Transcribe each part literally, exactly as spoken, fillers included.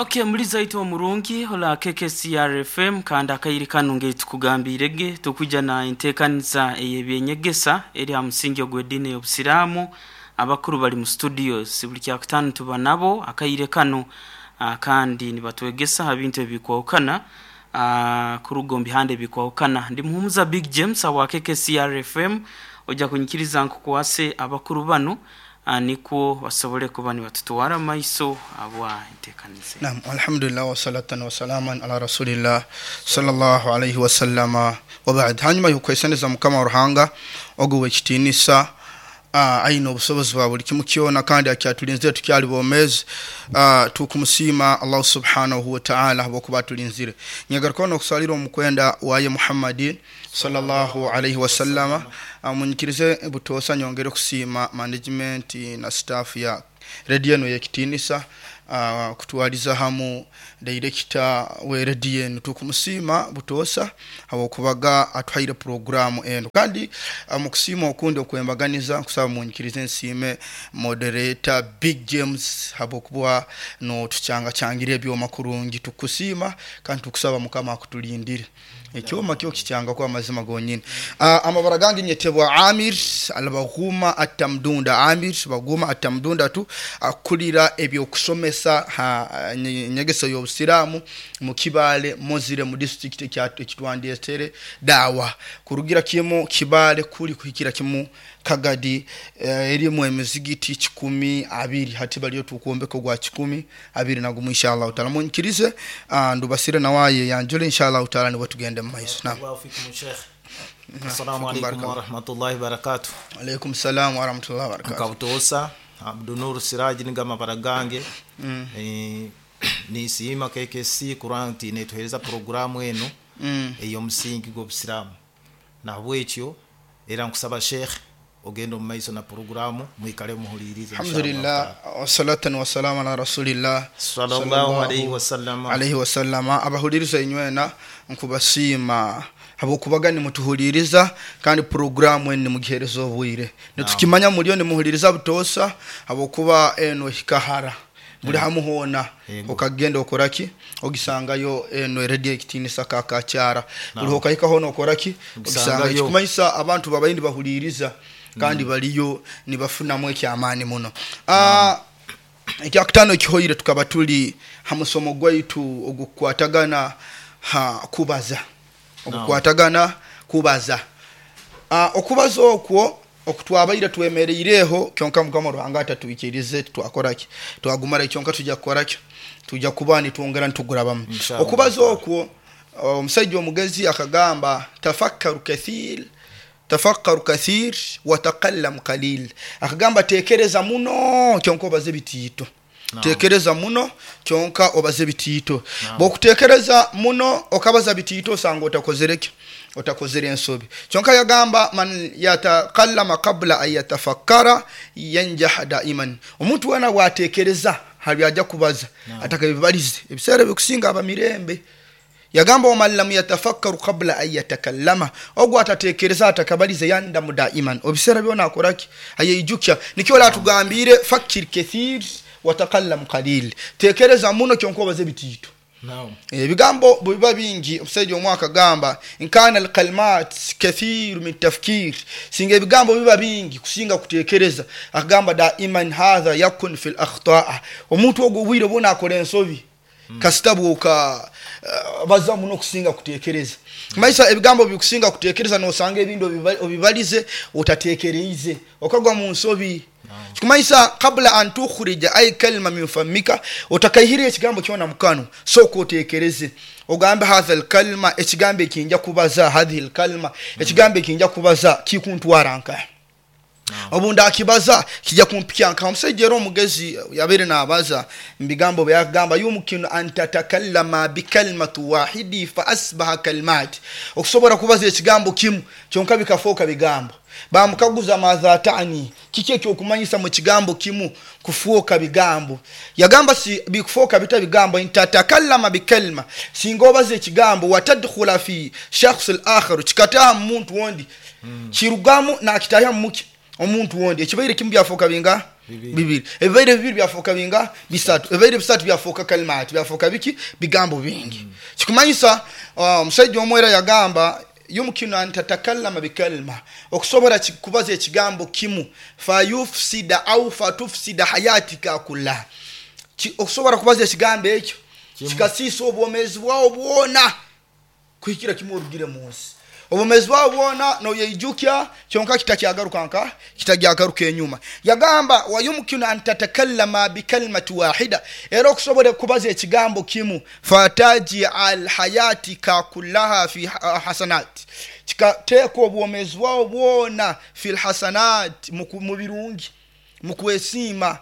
Okay, muliza itu omurungi hola K K C R F M kandi akairi kanu nge tukugambirege tukuja na enteekaniza ey'ebyenyegesa eri ha musingi ogw'eddiini y'Obusiraamu. Abakuru bali mu studios buli kyakutaano tuba nabo akaire kanu, uh, kandi nibatwegesa ha bintu ebikwahukana, uh, kuruga omu bihanda ebikwahukana. Ndi Muhumuza Big James awa K K C R F M, ojja kunyikiriza nkukwase abakuru banu, uh, nikwo basobole kuba nibatutwara maiso abwa enteekaniza. Naam, alhamdulillah wa salatan wa salaman ala rasulillah sallallahu alayhi wa sallama wa ba'd. Hanyuma y'okwesaneza Mukama Ruhanga ogu w'ekitiinisa, uh, aina obusobozi bwa buli kimu kyona kandi akyatulinzire tukyali bomezi. uh, tukumusiima Allah subhanahu wa ta'ala habwokuba atulinzire. Nyegaruka n'okusalira omukwenda waye Muhammadi sallallahu alayhi wa sallama. uh, munyikirize butoosa nyongere kusiima management na staff ya radio eno y'ekitiinisa, uh, kutwaliza hamu director we radio eno. Tukumusiima butoosa habwokubaga atuhaire programu eno, kandi uh, mukusiima okundi okwembaganiza nkusaba munyikirize nsiime moderator Big James habwokuba no tuchanga changira ebyoma kurungi. Tukusiima kandi tukusaba Mukama akutulindire ekyoma kyo kichanga kwa mazima gonyini. Uh, amabara gange nyetebwa Amir Albaghuma Atamdunda. Amir Baguma Atamdunda tu akulira ebyokusomesa ha nyegeso y'Obusiraamu mu Kibale Mozire mu district ekitwandiyetere dawa kurugira kimu Kibale kuli kuhikira kimu Kagadi, eh, erimu emizigiti kikumi abiri hati baliyo tukuombeko gwa kikumi abiri nagumu inshallah taala. Munyikirize uh, ndubasire nawaye yanjule inshallah taala nibo tugende mu maiso. Naam. Assalamu alaykum wa rahmatullahi wa barakatuh. Alaykum salam wa rahmatullahi wa barakatuh. Kabutosa Abdunur Siraji nigama baragange. Mm. E, nisiima K K C kuranti netuhereza programu eno mm. ey'omusingi gw'Obusiraamu. Nahabwekyo era nkusaba Sheikh ogenda mu maiso na programu mwikale muhulirize. Alhamdulillah wa salatan wa salam ala rasulillah sallallahu alayhi wa sallam alayhi wa sallam. Abahuliriza inywena nkubasiima habwokubaga nimutuhuliriza kandi programu eno nimugihereza obwire. Nitukimanya muliyo nimuhuliriza butoosa habwokuba eno hikahara buli hamuhona okagenda okoraki ogisangayo eno radio ekitiinisa kakakyara buli okahikaho nokoraki ogisangayo. Kikumanyisa abantu babayindi bahuliriza kandi baliyo nibafunamu ekyamaani muno. Ah, ekyakutaano ekihoire tukaba tuli ha musomo gwaitu ogukwatagana ha kubaza ogukwatagana kubaza. Ah, okubaza okwo okutwabaire twemereireho kyonka Mukama Ruhanga atatuikirize twakoraki twagumara kyonka tujja kukoraki tujja kuba nitwongera nitugurabamu. Okubaza okwo omusajja omugezi akagamba tafakkaru kathir tafakkaru kathir wa taqallam qalil. Akagamba tekereza muno kyonka obaze bitiito. No. Tekereza muno kyonka obaze bitiito. No. Bwokutekereza muno okabaza bitiito osanga otakozereki otakozere ensobi. Kyonka yagamba man yatakallama qabla an yatafakkara yanjah daiman. Omuntu wana bwatekereza hali ajja kubaza. No. Atakabibalize ebiseera bikusinga abamirembe. Yagamba waman lam yatafakkaru qabla an yatakallama, ogwo atatekereza atakabalize yandamu daiman. Obiseera byona akoraki ayeyijukya. Nikyo la tugambire fakir kathir watakallam qalil, tekereza muno kyonka obaze bitiito. Naam. Ebigambo biba bingi. Omusajja omwaka gamba inkana alkalmat kathir min tafkir, singa ebigambo biba bingi kusinga kutekereza. Akagamba daiman hadha yakun fil akhtaa, omuntu ogwo bwire bona akora ensobi mm. kasitabu oka uh, baza muno kusinga kutekereza. Mm. Maisha ebigambo bikusinga kutekereza nosanga ebintu obibalize otatekereize okagwa mu nsobi. Kikumaisa kabla an tukhrija ay kalima min famika, otakaihire ekigambo kyona mukano soko otekereze ogambe hadha alkalima ekigambo ekinja kubaza hadhi alkalima ekigambo ekinja kubaza kikuntwara nka obunda akibaza kijja kumpikya nka. Omusajja era omugezi yabere n'abaza mbigambo byagamba yumkinu an tatakallama bikalimatu wahidi fa asbaha kalimat, okusobola kubaza ekigambo kimu kyonka bikafuuka bigambo. Bamukaguza madha tani, kiki ekyokumanyisa mu kigambo kimu kufuuka bigambo. Yagamba si bikufuuka bita bigambo intatakallama bikalima, singa obaza ekigambo watadkhula fi shakhs al-akhar, kikataha muntu wondi mm. kirugamu nakitaha muki omuntu wondi ekibaire kimu byafuuka binga Bibiri. Ebibaire bibiri byafuuka binga? Bisatu. Ebibaire bisatu byafuuka kalimati, byafuuka biki? Bigambo bingi. Mm. Kikumanyisa omusajja uh, omwera yagamba yumkinu an tatakallama bikalima, okusobola kubaza ekigambo kimu fayufsida au fatufsida hayatika kullaha, okusobola kubaza ekigambo ekyo kikasiisa obwomeezi bwawo bwona kuhikira kimu orugire mu nsi. Obwomeezi bwawo bwona noyeijukya kyonka kitakyagaruka nka kitagyagaruka enyuma. Yagamba wayumkinu an tatakallama bikalimati wahida, era okusobola kubaza ekigambo kimu fatajal hayatika kullaha fi hasanat, kikateeka obwomeezi bwawo bwona fi lhasanat, mu birungi, mu kwesiima.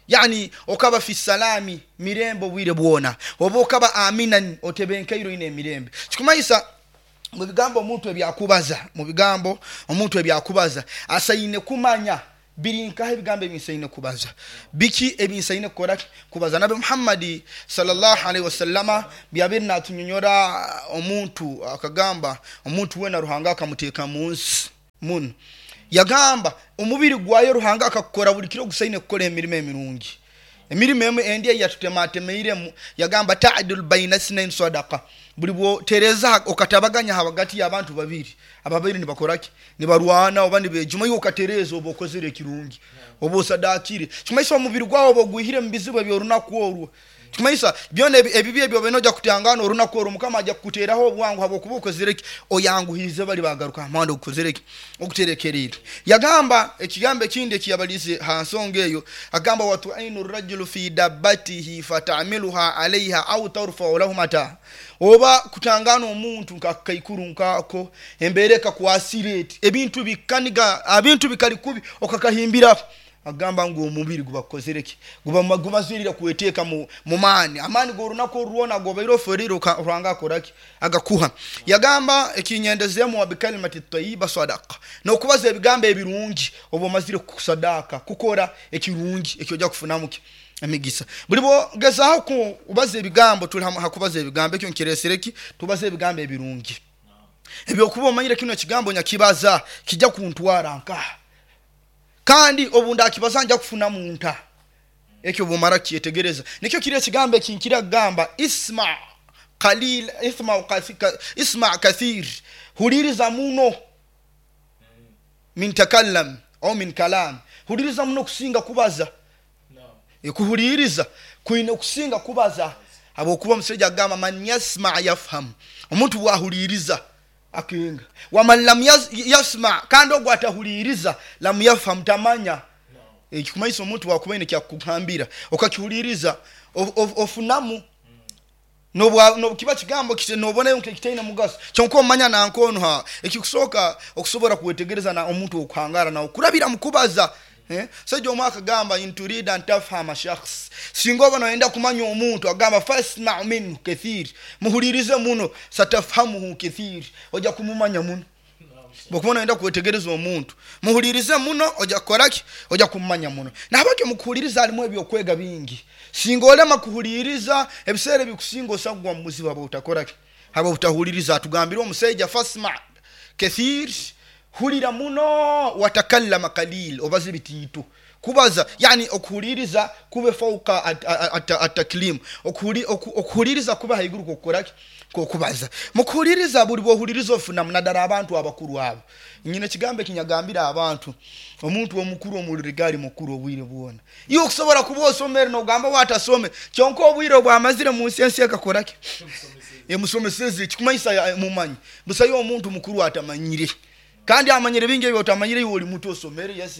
Yani okaba fi salami, mirembe obwire bwona, oba okaba aminan, otebenkeiro ine emirembe. Kikumanyisa mu bigambo omuntu ebyakubaza, mu bigambo omuntu ebyakubaza asaine kumanya birinkaho ebigambo ebinsaine kubaza, biki ebinsaine kukora kubaza. Nabi Muhammadi sallallahu alaihi wasallama byabiri natunyonyora omuntu akagamba omuntu wena Ruhanga akamuteeka mu nsi muno. Yagamba omubiri gwayo Ruhanga akakukora buli kiro gusaine kukora emirimo emirungi, emirimo emu endi eyatutematemeiremu. Yagamba ta'dil baina sinain sadaqa, buli bwotereza okatabaganya hagati y'abantu babiri ababiri nibakoraki, nibarwana oba nibejuma, iwe okatereza oba okozere ekirungi oba osadakire. Kimaisa omubiri gwawo oba ogwihire mu bizibu ebyorunaku orwo. Kimaisa byona ebibi ebyo benoja kutangana orunaku orwo Mukama ajja kukuteraho obwangu habwokuba okozere ki, oyanguhize bali bagaruka amanda okozere ki, okuterekerire. Yagamba ekigambo ekindi ekiyabalize ha nsonga eyo, agamba watu'inu rajulu fi dabbatihi fatamiluha alaiha au tarfa'u lahu mata, oba kutangana omuntu nkakaikuru nkako embeera ekakwasire eti ebintu bikaniga ebintu bikali kubi okakahimbiraho. Agamba ngu omubiri gubakozere ki, guba gumazirira kweteeka mu maani, amaani g'orunaku orwona gobaire oferire Ruhanga akoraki, agakuha. Yagamba ekinyendezemu wa bikalimati tayyiba sadaqa, n'okubaza ebigambo ebirungi oba omazire kusadaka kukora ekirungi ekyo kufunamu ki emigisa. Buli bwogezaho kubaza ebigambo, tuli hakubaza ebigambo ekyo nkiresereki, tubaze ebigambo ebirungi ebyokuba omanyire kino ekigambo nyakibaza kijja kuntwara nkaha, kandi obu ndakibaza nja kufuna munta. Ekyo bwomara kyetegereza nikyo kiri ekigambo ekinkira kugamba isma qalil isma isma kathir, huliriza muno min takallam au min kalam, huliriza muno kusinga kubaza. Ekuhuliriza kuine kusinga kubaza, habwokuba omusajja agamba man yasma yafham, omuntu bwahuliriza akenga, waman lam yasma, kandi ogwo atahuliriza lam yafham, tamanya. Ekikumanyisa omuntu wakuba ine kyakugambira okakihuliriza ofunamu nobukiba kigambo nobona nkekitaine mugaso kyonka omanya nankono ha ekikusooka okusobola kwetegereza na omuntu okuhangara nawe kurabira mukubaza. Eh? Sajja omwaka agamba inturida an tafhama shakhs, singa oba noyenda kumanya omuntu agamba fasma minhu kathir, muhulirize muno satafhamuhu kathir, ojja kumumanya muno. Bwokuba noyenda kwetegereza omuntu muhulirize muno ojja kukoraki, ojja kumumanya muno. Nahabwekyo mukuhuliriza halimu ebyokwega bingi. Singa olema kuhuliriza ebiseera ebikusinga osagwa mu buzibu aba utakoraki, aba utahuliriza. Atugambire omusajja fasma kathir, hulira muno, watakallama qalil, obaze bitiito. Kubaza yani okuhuliriza kube fauka ataklim, okuhuliriza kuba haiguru kokukoraki, kokubaza. Mukuhuliriza buli bwohuliriza ofuna munadara abantu abakuru abo. Nyine ekigambo ekinyagambira abantu, omuntu omukuru omulirigali mukuru obwire bwona. Iwe okusobola kuba osomere nogamba watasome, kyonka obwire obwamazire mu nsi ensi ekakoraki, emusomeseze. Kikumanyisa mumanyi busayo omuntu mukuru atamanyire, kandi amanyire bingi ebyo otamanyire. Iwe oli muto osomere, yes,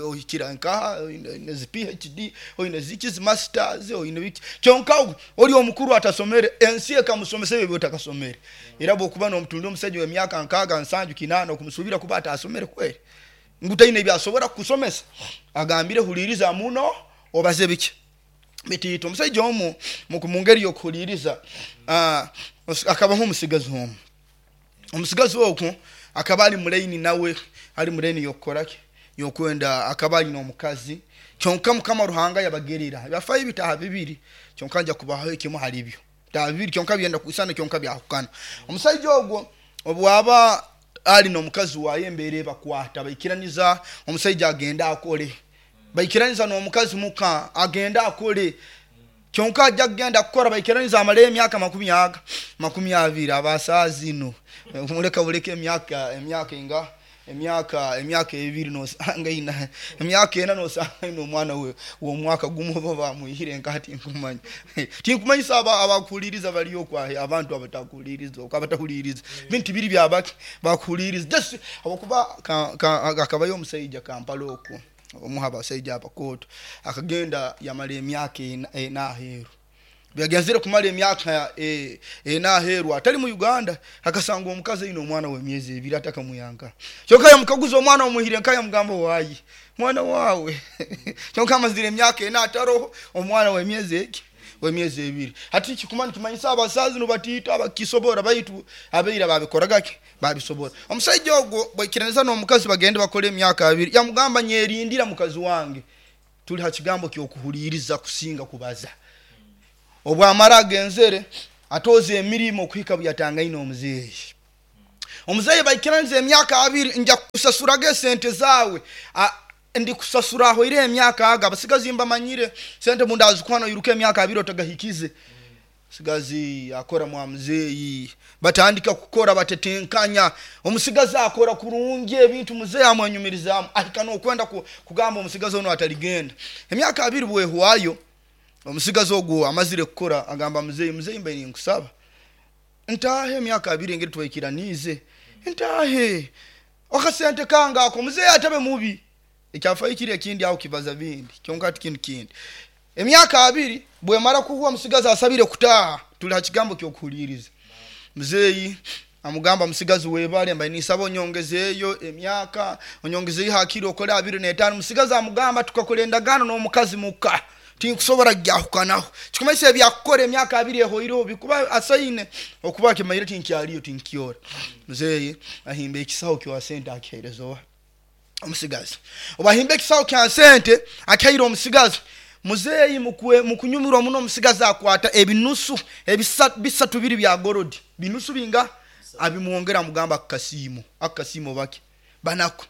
ohikira nkaha oine zi P H D, oine ziki zi masters, oine biki, kyonka oli omukuru atasomere ensi ekamusomesa ebyo otakasomere. Era bwokuba n'omutundi omusajja w'emyaka nkaaga nsanju kinaana okumusuubira kuba atasomere kweri ngu taine ebyasobora kukusomesa, agambire huliriza muno obaze biki bitiito. Omusajja omu mu ngeri y'okuhuliriza akabaho omusigazi omu. Omusigazi ogwo akaba ali mulaini nawe, ali mulaini y'okukoraki, y'okwenda, akaba alina omukazi kyonka Mukama Ruhanga yabagerera byafayo bitaha bibiri, kyonka nja kubaho ekimu hali byo bitaha bibiri kyonka byenda kuisana kyonka byahukana. Omusajja ogwo obwaba ali n'omukazi waye embeera ebakwata baikiraniza, omusajja agenda akole Baikiraniza n'omukazi muka agenda akole kyonka ajja kugenda kukora baikiraniza amale emyaka makumi aga makumi abiri abasaazi ino muleka buleke emyaka emyaka inga emyaka emyaka ebiri nosanga ina emyaka ena nosanga ina omwana we w'omwaka gumu oba bamwihire nkati nkumanya tinkumanyisa aba abakuhuliriza baliyo kwahe abantu abatakuhuliriza okwo abatahuliriza bintu biri byabaki bakuhuliriza just habwokuba akabayo omusaija Kampala okwo omuha abasaija abakooto akagenda yamala emyaka ena aheeru byagenzere kumala emyaka ena aheeru atali mu Uganda akasanga omukazi aine omwana w'emyezi ebiri atakamuyanka kyonka yamukaguza omwana omuhire nka yamugamba waayi mwana waawe kyonka amazire emyaka ena ataroho omwana w'emyezi eki w'emyezi ebiri hati kikuma nikimanyisa abasazi nibatiita abakisobora baitu abeira babikoragaki babisobora omusaija ogwo bwaikiraniza n'omukazi bagende bakole emyaka abiri yamugamba nyerindira mukazi wange tuli ha kigambo ky'okuhuliriza kusinga kubaza obwamara agenzere atoze emirimu okuhika byatangaine omuzeeyi omuzeeyi baikiraniza emyaka abiri nja kusasuraga esente zawe ndi kusasura aho ire emyaka aga abasigazi mbamanyire sente mundazikwana yiruka emyaka abiri otagahikize sigazi akora mwa muzeeyi batandika kukora batetenkanya omusigazi akora kurungi ebintu muzeeyi amwenyumirizamu ahika n'okwenda kugamba omusigazi ono ataligenda emyaka abiri bwehwayo omusigazi ogwo amazire kukora agamba muzeeyi muzeeyi mbe ninkusaba ntahe emyaka abiri engeri twekiranize ntahe akasente kange ako muzeeyi atabe mubi ekyafayo kiri ekindi aho kibaza bindi kyonka ati kintu kindi emyaka abiri bwemara kuhuwa omusigazi asabire kutaaha tuli ha kigambo ky'okuhuliriza muzeeyi amugamba musigazi webale mba nisaba onyongezeeyo emyaka onyongezeeyo hakiri okole abiri n'etaano musigazi amugamba tukakora endagaano n'omukazi muka tinkusobora gyahukanaho kikumanyisa ebyakukora emyaka abiri ehoireho bikuba asaine okuba kimayire tinkyaliyo tinkyora muzeeyi ahimba ekisaho kya sente akihereza owa omusigazi obahimba ekisaho kya sente akihaire omusigazi muzeeyi mukunyumirwa muno omusigazi akwata ebinusu bisatu biri bya gorodi binusu binga abimwongera amugamba akakasiimo akakasiimo bake banako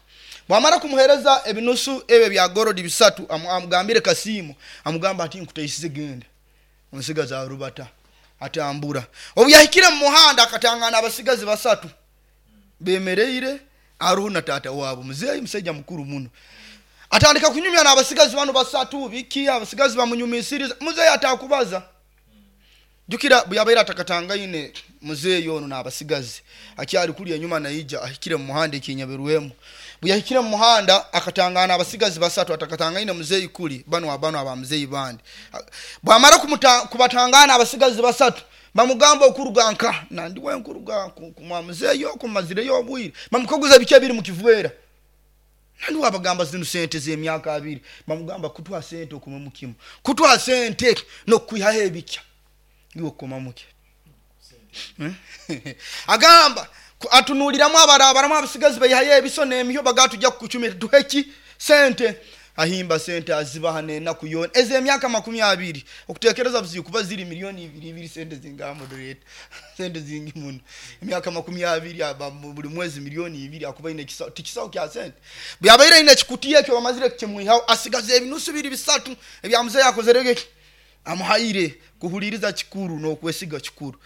bwamara kumuhereza ebinusu ebyo bya gorodi bisatu amugambire kasiimo amugamba ati nkutaisize genda omusigazi arubata atambura obu yahikire mu muhanda akatangana abasigazi basatu bemereire aruhu na tata wabo muzeeyi musaija mukuru muno atandika kunyumya n'abasigazi bano basatu biki abasigazi bamunyumisiriza muzeeyi atakubaza jukira byabaire atakatangaine muzeeyi ono n'abasigazi akyali kuli enyuma naija ahikire mu muhanda ekinyaberwemu buyahikire mu muhanda akatangana abasigazi basatu atakatangaine muzeeyi kuli bano abano aba muzeeyi bandi bwamara kubatangana abasigazi basatu bamugamba okuruga nka nandiwe nkuruga kumwa muzeeyi okumazireyo obwire bamukaguza biki ebiri mu kivwera nandi wabagamba zino sente z'emyaka abiri bamugamba kutwa sente okuma mukimu kutwa sente n'okwihaho ebikya iwe okukoma muke agamba atunuliramu abarabaramu abasigazi bayihayo ebiso n'emiyo bagatujja kukucumira tuheki sente ahimba sente azibaha n'enaku yoona ez'emyaka makumi abiri okutekereza buzibu kuba ziri miliyoni ibiri ibiri sente zingaha moderator sente zingi muno emyaka makumi abiri buli mwezi miliyoni ibiri akuba ine ekisawo tikisawo kya sente byabaire ine ekikutiya ekyo bamazire kukimwihaho asigaza ebinusu biri bisatu ebya muzeeyi akozerege amuhaire kuhuliriza kikuru n'okwesiga kikuru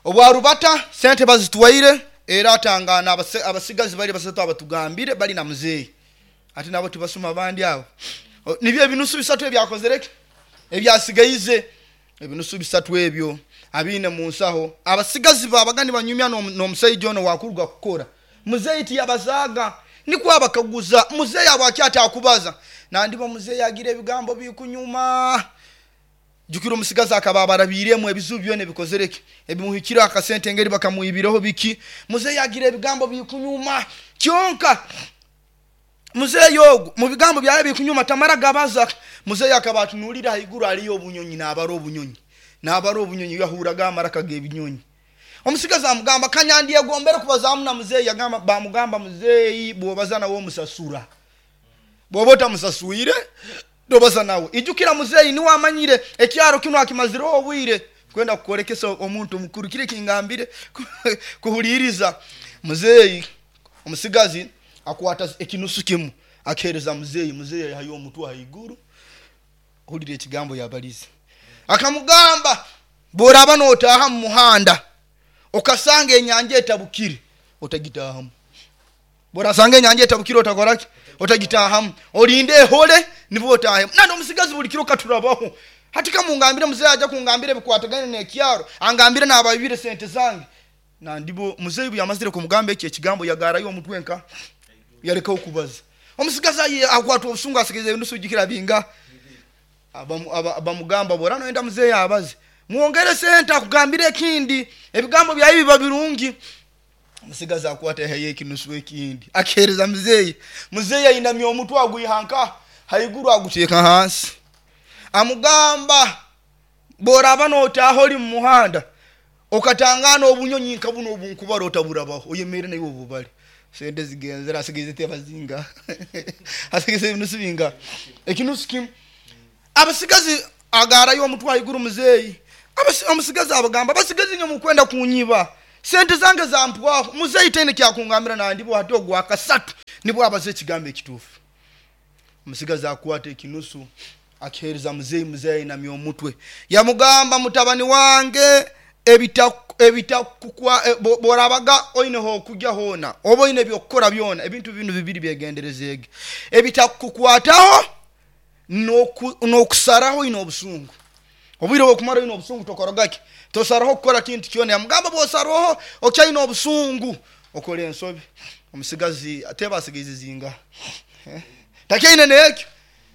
obwarubata sente bazitwaire era atangana abasigazi bali basatu abatugambire bali na muzeeyi ati nabo tibasoma abandi abo nibyo ebinusu bisatu ebyakozereke ebyasigaize ebinusu bisatu ebyo abiine mu nsaho abasigazi babaga nibanyumya n'omusaija ono wakuruga kukora muzeeyi tiyabazaaga nikwo abakaguza muzeeyi abo akyatakubaza nandiba muzeeyi agira ebigambo bikunyuma jukira omusigazi akaba abarabiremu ebizibu byona ebikozereke ebimuhikire akasente engeri bakamuibireho biki muzeeyi agira ebigambo bikunyuma kyonka muzeeyi ogwo mu bigambo byawe bikunyuma tamara gabaza muzeeyi akaba atunulira haiguru aliyo obunyonyi n'abara obunyonyi n'abara obunyonyi yahuraga amaraka g'ebinyonyi omusigazi amugamba kanyandyegombere kubazamu na muzeeyi agamba bamugamba muzeeyi bw'obaza nawe omusasura bw'oba otamusasuire tobaza nawe ijukira muzeeyi niwe amanyire ekyaro kino akimazireho obwire kwenda kukorekesa omuntu mukuru kire kingambire kuhuliriza muzeeyi omusigazi akwata ekinusu kimu Akereza muzeeyi, muzeeyi yahayo omutwe haiguru. Hulira ekigambo yabalize. Akamugamba bworaba notaha mu muhanda okasanga enyanja etabukire otagitahamu. Bworasanga enyanja etabukire otakoraki? Otagitahamu. Olinde ehole nibwo otahemu. Nandi omusigazi buli kiro katurabaho. Hati kamungambire muzeeyi aja kungambira ebikwatagane n'ekyaro, angambire n'abayibire sente zange. Nandibo muzeeyi bwe yamazire kumugamba ekyo ekigambo yagarayo omutwe nka yarekaho kubaza. Omusigazi aye akwatwa obusungu asigeze enusu jikira binga. Abamugamba bora noenda muzeeyi abaze. Muongere sente akugambire ekindi, ebigambo byayi biba birungi. Omusigazi akwata heye ekinusu ekindi akihereza muzeeyi. Muzeeyi ayinamya omutwe agwihanka haiguru aguteeka hansi. Amugamba boraba notaho oli mu muhanda okatangana obunyonyi nka buno obunkubara otaburabaho oyemere nayo obubale. Sente zigenzera asigeze tebazinga asigeze ebinusu binga ekinusu kimu. Abasigazi agarayo omutwe haiguru muzeeyi. Omusigazi abagamba abasigazi nyo mukwenda kunyiba sente zange zampwaho. Muzeeyi tene kyakungambira nandibo hati ogwa kasatu nibwo abaze ekigambo ekituufu. Omusigazi akwata ekinusu akihereza muzeeyi. Muzeeyi ayinamya omutwe yamugamba mutabani wange ebitakukwa borabaga oineho okujja hoona oba oine ebyokukora byona ebintu binu bibiri byegenderezege ebitakukwataho n'okusaraho oine obusungu. Obwire bwokumara oine obusungu tokorogaki tosaraho kukora kintu kyona. Yamugamba bwosaraho okyaine obusungu okora ensobi. Omusigazi ateba asigaize zinga takyaine nekyo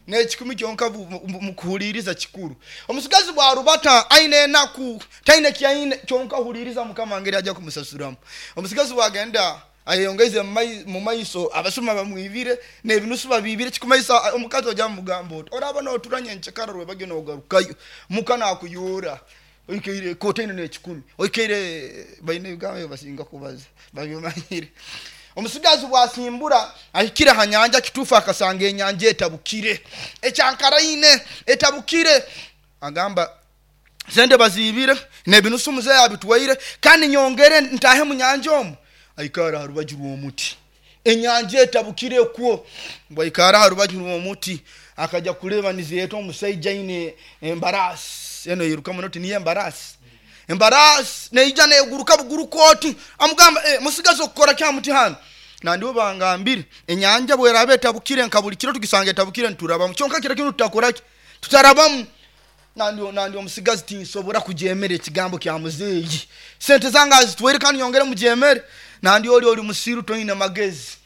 nekikumi kyonka mukuhuliriza kikuru. Omusigazi bwarubata aine enaku taine kyaine kyonka huliriza mukama ngeri aja kumusasuramu. Omusigazi bwagenda ayongeze mu maiso abasuma bamwibire n'ebinusu babibire kikumaisa omukazi oja mugamba oti oraba noturanye nchekara rwebage nogarukayo mukana akuyora oikeire kotaine n'ekikumi oikeire baine ebigambo basinga kubaza babimanyire. Omusigazi bwasimbura ahikire ha nyanja kitufu akasanga enyanja etabukire ekyankaraine etabukire. Agamba sente bazibire n'ebinusu muzeeyi abitwaire kandi nyongere ntahe mu nyanja omu. Aikara ha rubaju rw'omuti enyanja etabukire kwo. Bwaikara ha rubaju rw'omuti akaja kuleba nizeeta omusaija aine embarasi eno yiruka muno niyo embarasi embarasi neija neguruka buguruka oti. Amugamba eh, musigazi okukora kya muti hano nandibo bangambire enyanja bweraba etabukire nka buli kiro tugisanga etabukire nturabamu kyonka kiro kino tutakoraki tutarabamu. Nandi nandi omusigazi tinsobora kujemera ekigambo kya muzeeyi sente zange azitwere kandi nyongere mujemere. Nandi oli oli musiru toine magezi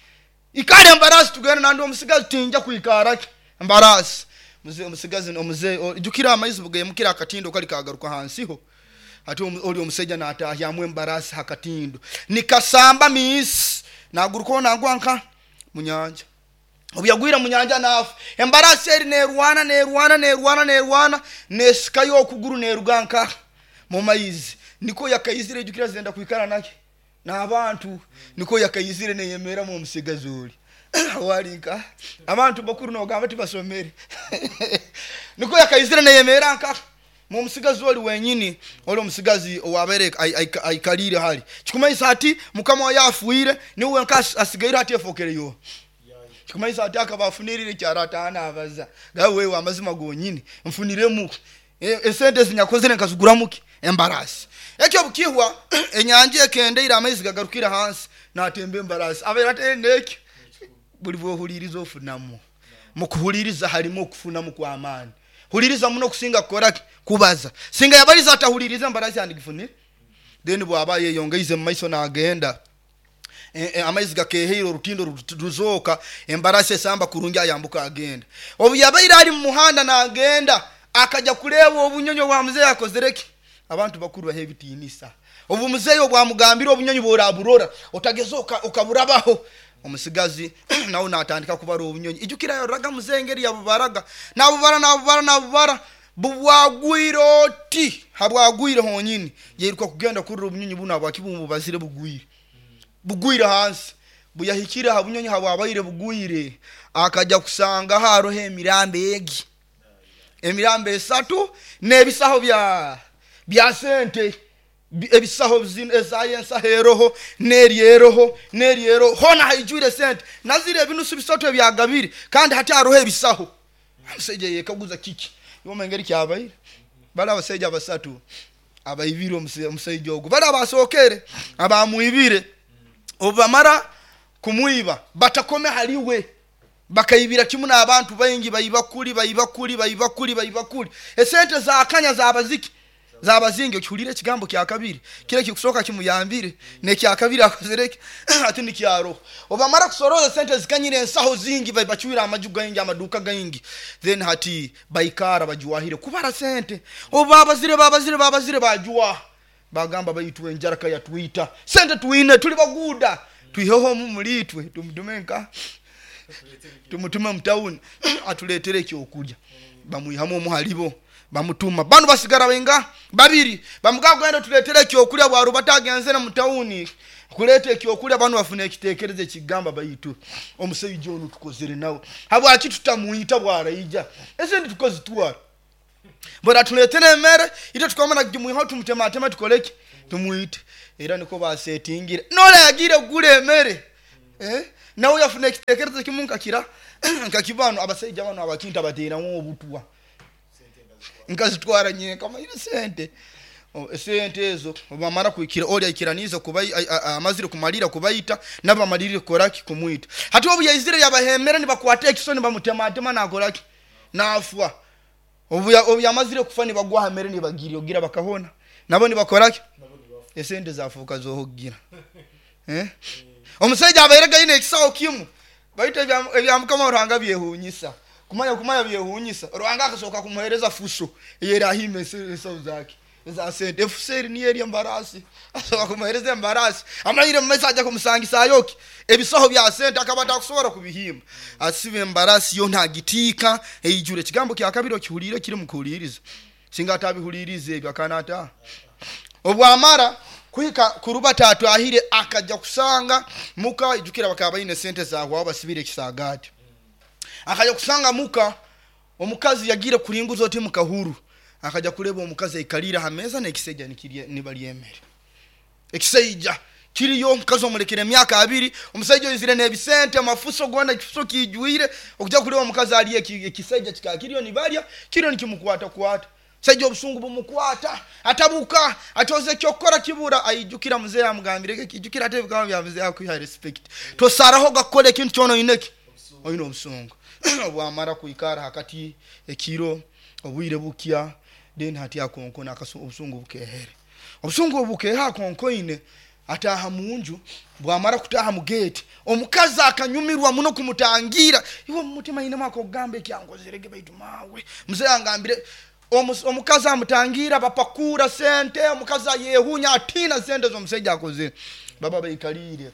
ikale embarasi tugende. Nandi omusigazi tinja kuikaraki embarasi. Muzeeyi omusigazi omuzeeyi jukira amaizi bugemukira akatindo kali kagaruka hansiho. Ati oli omusajja natahyamu embarasi hakatindo nikasamba misi naguruko nagwa nka munyanja. Obu yagwira munyanja nafu embarasi eri nerwana nerwana nerwana nerwana nesikayo okuguru neruga nka mu maizi. Niko yakaizire jukira zenda kuikara nake n'abantu niko yakaizire neyemera mu musigazi oli walinka abantu bakuru nogamba tibasomere niko yakaizire neyemera nka mu musigazi oli wenyini oli omusigazi owabere aikalire hali kikumaisa ati mukama yafuire niwe nka asigaire ati efokereyo kikumaisa ati akabafunirire kyaratana abaza gawe wewe amazima gonyini mfuniremu esente zinyakozere nkaziguramuki embarasi. Ekyo bukihwa enyanja ekendeira amaizi gagarukira hansi natembe embarasi abera atendeke buli bwohuliriza ofunamu. Mukuhuliriza harimo okufunamu kwa amani. Huliriza muno kusinga kukoraki kubaza. Singa yabaliza atahuliriza embarasi andigifunire. Then bwaba yeyongeize mu maiso nagenda e, e, amaizi gakeheire orutindo ruzoka embarasi esamba kurungi ayambuka agenda. Obu yabaire ari mu muhanda nagenda akaja kuleba obunyonyo bwa muzeeyi akozereki. Abantu bakuru bahe bitinisa. Obu muzeeyi obwamugambira obunyonyi boraburora otageza okaburabaho. Omusigazi nawe natandika kubara obunyonyi. Ijukira yoraga muzeeyi ngeri yabubaraga nabubara nabubara nabubara bubwagwire oti habwagwire honyini yiruka kugenda kurira obunyonyi buno abwakibumbu bazire bugwire bugwire hansi. Buyahikira ha bunyonyi habwabaire bugwire akaja kusanga haroho emirambo egi emirambo esatu n'ebisaho bya bya sente Ebisaho zino ezaye ensaho eroho n'eri eroho n'eri eroho hona haijwire sente nazire ebinusu bisatu ebyagabire kandi hati aroho ebisaho. Omusajja yekaguza kiki iwe engeri kyabaire. Bali abasajja basatu abaibire omusajja ogwo bali abasookere abamwibire obamara kumwiba batakome haliwe bakaibira kimu n'abantu baingi baibakuli baibakuli baibakuli baibakuli esente zakanya zabaziki zabazingi. Okihulire ekigambo kya kabiri kile kikusoka kimuyambire nekya kabiri akozereke ati nikyaro. Obamara kusoroza sente zikanyire ensaho zingi bachiwira amaju gaingi amaduka gaingi then hati baikara bajuwahire kubara sente. Obabazire babazire babazire bajuwa bagamba baitwe enjara kaya twita sente tuine tuli baguda tuiheho mulitwe tumutumenka tumutume mutauni atuletere ekyokulya. Bamwihamu omuhalibo bamutuma bano basigara benga babiri bamugamba genda tuletere ekyokulya bwaru batagenze na mutauni kuleta ekyokulya. Bano bafuna ekitekerezo ekigamba baitu omusajja ono tukozere nawe habwaki tutamuita bwaraija esente tukozitwara bora tuletere emere ite tukamana kimuiha tumutema atema tukoleke tumuite. Era niko basetingire nola yagire gule emere eh nawe yafuna ekitekerezo kimunka kira nkakibano abasajja bano abakinta bateramu obutwa nkazitwara nyenka kama ile sente sente ezo bamara kuikira oli aikiraniza kubai amazire kumalira kubaita nabamalirire koraki kumwita. Hati obu yaizire yabahemera nibakwata ekisoni bamutema atema nakoraki nafwa. Obu obu yamazire kufa nibagwa hamere nibagiri ogira bakahona nabo nibakoraki esente zafuka zohogira eh omusajja abairega ine ekisawo kimu baita ebya mukama Ruhanga byehunyisa kumanya kumanya byehunyisa. Ruhanga akasoka kumuhereza fuso yera ahime ensawo zake za sente efuseri ni eri embarasi asoka kumuhereza embarasi amayire mumesa aja kumusangisa ayoki ebisaho bya sente akabata kusobora kubihimba asibe embarasi yo ntagitika eyijure. Ekigambo kya kabiri okihulire kiri mukuhuliriza singa atabihulirize ebyo akanata. Obwamara kuhika kuruba tatu ahire akaja kusanga muka ijukira bakaba ine sente zawe basibire ekisagati. Akaja kusanga muka omukazi yagire kulinguza oti mukahuru akaja kuleba omukazi aikalira hameza nekiseja nikirye nibalyemere ekiseija kiriyo omukazi omulekere emyaka abiri omusajja oyizire n'ebisente amafuso gona ekifuso kijuire okuja kuleba omukazi ali ekiseija kikakiriyo nibalya kiriyo nikimukwata kwata. Sajja obusungu bumukwata atabuka atoze kyokora kibura aijukira muzee amugambire kijukira ate bikaba bya muzee akuha respect tosaraho gakole ekintu kyono ineki oyino obusungu. Obwamara kuikara hakati ekiro obwire bukya then hati akonkona akasu obusungu bukehere obusungu bukeha akonkoine ataha munju. Bwamara kutaha mu gate omukazi akanyumirwa muno kumutangira iwe mumutima ine mwako gambe kyangozerege baitu mawe muzee angambire. Omukazi amutangira bapakura sente omukazi ayehunya atina sente z'omusajja akoze baba baikalire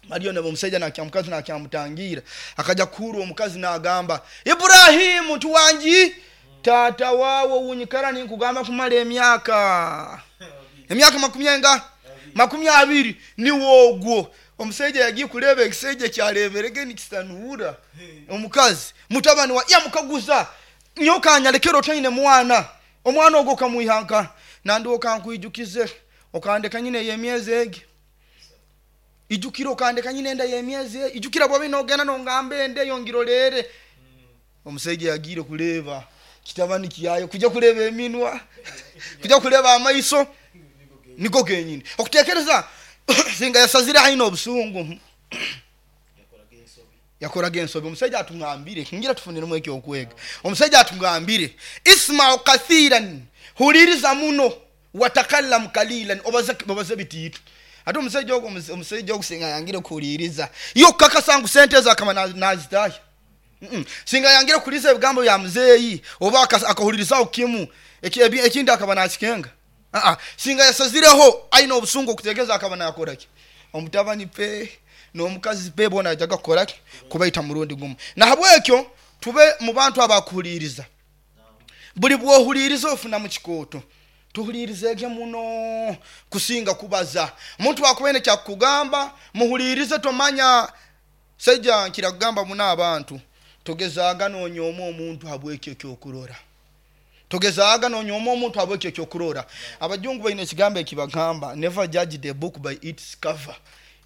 Mariyo nebo omusajja nakyamukazi nakyamutangira akaja kuhuru omukazi nagamba Ibrahimu tuwanji tata wawo unyikara ninkugamba kumala emyaka emyaka makumi enga makumi abiri ni wogwo. Omusajja yagiye kuleba ekisajja kyaleberege nikisanuura omukazi mutabani wa yamukaguza nyoka anyalekero otaine mwana omwana ogwo kamuihanka nandi okankwijukize okandeka nyine yemyezi egi ijukira okandeka nyine enda yemyezi ijukira bwabe nogenda nongambe ende yongirolere. Omusajja yagiire kuleba kitabani kiyayo kuja kuleba eminwa kuja kuleba amaiso niko kenyini okutekereza singa yasazire haino obusungu yakoraga ensobi. Omusajja atungambire ngira tufuniremu ekyokwega. Omusajja atungambire isma'u kathiran huliriza muno watakallam kalilan obaze obaze bitiitu. Ate omusajja ogwo omusajja ogusinga yangire kuhuliriza yo kakasa ngu sente zakama nazitayo mm singa yangire kuliza ebigambo bya muzeeyi oba akahulirizaho kimu ekindi akaba nakikenga ah ah singa yasazireho aina obusungu okutegeeza akaba nakoraki omutabani pe n'omukazi pe bona yajaga kukoraki kubaita murundi gumu. Nahabwekyo tube mu bantu abakuhuliriza buli bwohuliriza ofuna mu kikooto tuhulirizege muno kusinga kubaza. Omuntu akubene kyakugamba muhulirize tomanya sajja nkiragamba muna abantu togezaaga noonyooma omuntu habwekyo ekyokurora. Togezaaga nonyooma omuntu habwekyo ekyokurora. Abajungu baine ekigambo ekibagamba, never judge the book by its cover.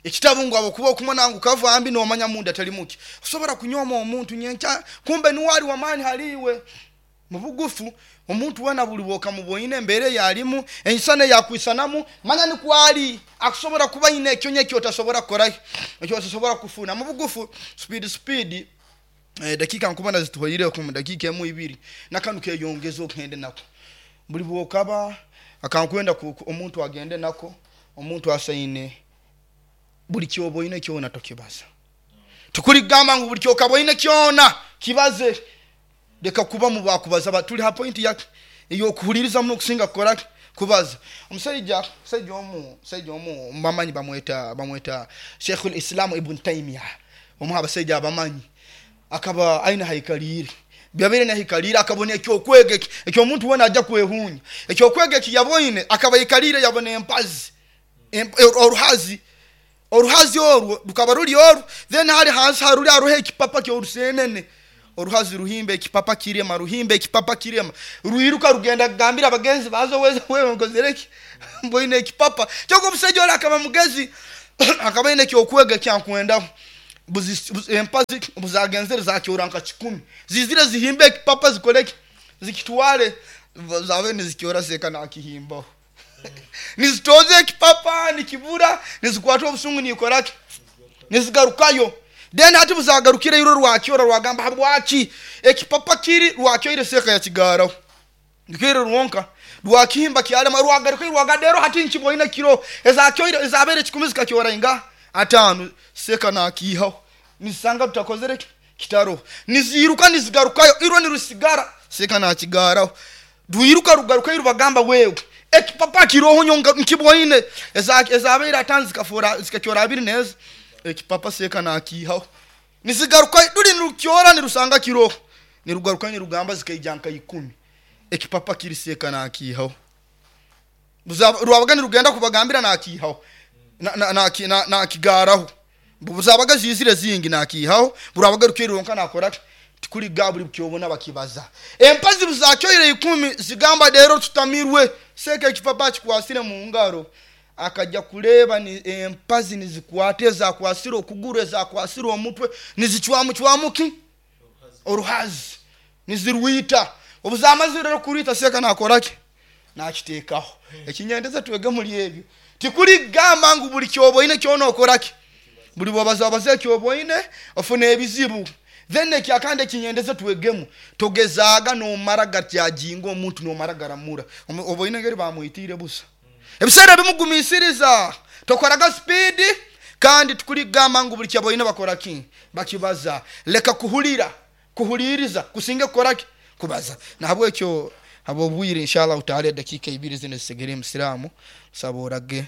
Ekitabu ngu abakuba okumona ngu kava mbi nomanya munda tali muki. Osobola kunyooma omuntu nyenkya kumbe niwe ali wamaani haliiwe. Mu bugufu omuntu wena buli bwokamuboine embeera eyalimu ensana eyakwisanamu manya nikwali akusobola kuba ine ekyo nye ekyotasobola kukorayo ekyotasobola kufuna. Mu bugufu speed speed eh, dakika nkubona zituhoireko mu dakika emu ibiri nakanu keyongeza okugende nako. Buli bwokaba akankwenda ku- ku- omuntu agende nako omuntu asaine buli kyoboine kyona tokibaza. Tukuligamba ngu buli kyokaboine kyona kibaze. Leka kuba mu bakubaza ba tuli ha point yake eyokuhuliriza muno kusinga kukora kubaza. Omusajja omusajja omu omusajja omu bamanyi bamweta bamweta Sheikhul Islam Ibn Taymiyyah, omu abasajja abamanyi akaba aina haikalire byabere na haikalire akabona ekyokwega eki ekyo omuntu wena ajja kwehunya ekyokwega eki yaboine akaba ikalire yabona empazi emp-, oruhazi oruhazi orwo rukaba ruri oru then hari hansi haruri aruhe ekipapa kyorusenene oruhazi ruhimbe ekipapa kirema ruhimbe ekipapa kirema ruiruka rugenda kugambira abagenzi bazo weze wewe nkozereki mboine ekipapa kyoko. Omusajja ori akaba mugezi akaba aine ekyokwega kyankwendaho. Buzi-, buzi-, empazi buzagenzere zakyora nka kikumi zizire zihimbe ekipapa zikoreki zikitware zabe nizikyora seka nakihimbaho nizitoze ekipapa nikibura nizikwata obusungu nikoraki nizigarukayo. Then hati buzagarukire iro rwakyora rwagamba habwaki ekipapa kiri rwakyoire seka yakigaraho nikire rwonka rwakihimba kyalema rwagaruka rwagadero hati nkiboine kiro ezakyoire ezabere kikumi zikakyora inga atano seka nakihaho nisanga tutakozere kitaro niziruka nizigarukayo iro nirusigara seka nakigaraho rwiruka rugaruka iro bagamba wewe ekipapa kiroho nyonga nkiboine eza-, ezabere atano zikafora zikakyora abiri neza ekipapa seka nakihaho nizigaruka ruri nirukyora nirusanga kiroho nirugaruka nirugamba zikaija ikumi ekipapa kiri seka nakihaho rwabaga nirugenda kubagambira nakihaho nakigaraho buzabaga zizire zingi nakihaho burabaga rukironka nakora tikuri gaburi kyobona bakibaza empazi buzakyoire ikumi zigamba rero tutamirwe seka ekipapa kikwasire mu ngaro akajja kuleba ni empazi nizikwate zakwasira okuguru zakwasira omutwe nizichwamu chwamuki oruhazi nizirwita obuzamazi rero kurita seka nakoraki nakitekaho ekinyendeza twege muri ebyo tikuri gamba ngu buli kyoboine kyono okoraki buli bwabaza baze kyoboine ofune ebizibu then ekyakande kinyendeza twegemu togezaga no maraga tyajingo omuntu no maraga ramura oboine ngeri bamuitire busa ebisera bimugumisiriza tokoraga speed kandi tukuri gamba ngu buli kyaboine bakoraki bakibaza leka kuhulira kuhuliriza kusinge kukoraki kubaza nahabwekyo abo bwire inshallah utaale dakika ibiri zine zisegere musiramu saborage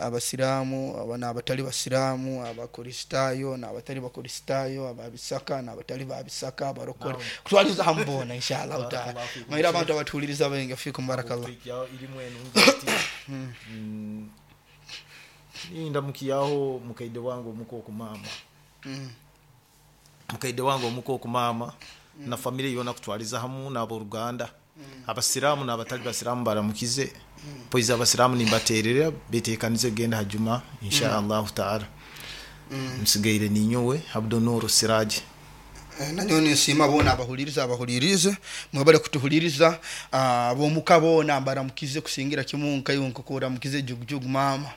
abasiramu abana abatali basiramu abakristayo n'abatali bakristayo ababisaka n'abatali babisaka abarokore kutwaliza hambona inshallah utaala maira abantu abatuliriza benga fikum barakallah Indamukiyaho mukaide wangu muko kumama mukaide wangu muko kumama na familia yona kutwaliza hamu n'aboruganda abasiramu n'abatali basiramu baramukize poiza abasiramu nimbaterera betekanize genda hajuma insha Allah taala msigaire ninyowe Abdunuru Siraji. Nanyo nisima bona abahuliriza abahulirize mwebale kutuhuliriza abomuka bona baramukize kusingira kimunka yonko mukize jugjug mama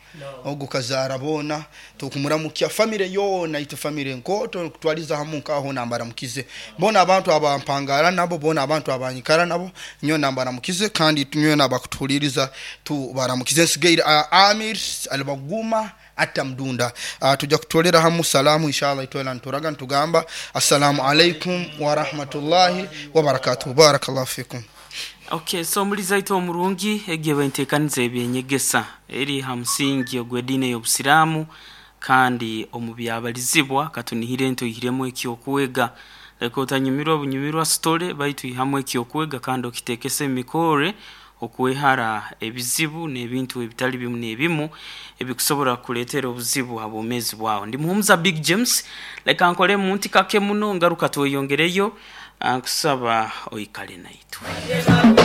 ogo kazara bona tukumuramukia family yona itu family nkoto kutwaliza hamunka aho nambaramukize bona abantu abampangara nabo bona abantu abanyikara nabo nyo nambaramukize kandi tunyo nabakutuhuliriza tu baramukize sigaire Amir Albaguma atamdunda uh, tuja kutolera hamu salamu inshallah itwela nturaga ntugamba assalamu alaikum wa rahmatullahi wa barakatuh barakallahu fikum. Okay, so muliza ito omurungi egiye bentekanize ebyenyegesa eri hamsingi ogwedine y'obusiramu kandi omubyabalizibwa katunihire nto ihiremo ekyokwega leko otanyumirwa bunyumirwa story baitu ihamwe ekyokwega kandi okitekese emikore okwehara ebizibu n'ebintu ebitali bimu n'ebimu ebikusobola kuleetera obuzibu abomezi bwawe. Ndi Muhumuza Big James leka nkole munti kake muno ngaruka tweyongereyo nkusaba oikale naitwe.